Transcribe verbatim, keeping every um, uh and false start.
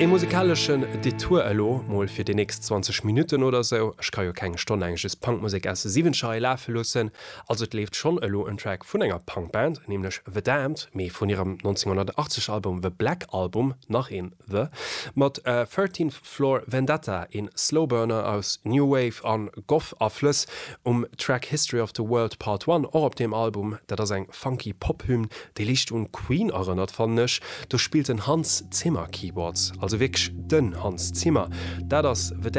E musikaleschen Detour elo mol fir déi nächst zwanzeg Minutten oder sou. Ech ka jo keng Stonn laang just Punkmusek aus de Siwwenzeger lafe loossen. Also et leeft schonn elo en Track vun enger Punkband, nämlech The Damned, mee vun hirem nonzénghonnertachtzeg Album The Black Album, nach een The, mat Thirteenth Floor Vendetta, een Slowburner aus New Wave an Goth-Aflëss um Track History of the World Part One, och op deem Album. Dat ass eng funky Pop-Hymn, déi liicht un Queen erënnert, fannen ech. Do spillt den Hans Zimmer Keyboards, also wierklech den Hans Zimmer. Dat ass The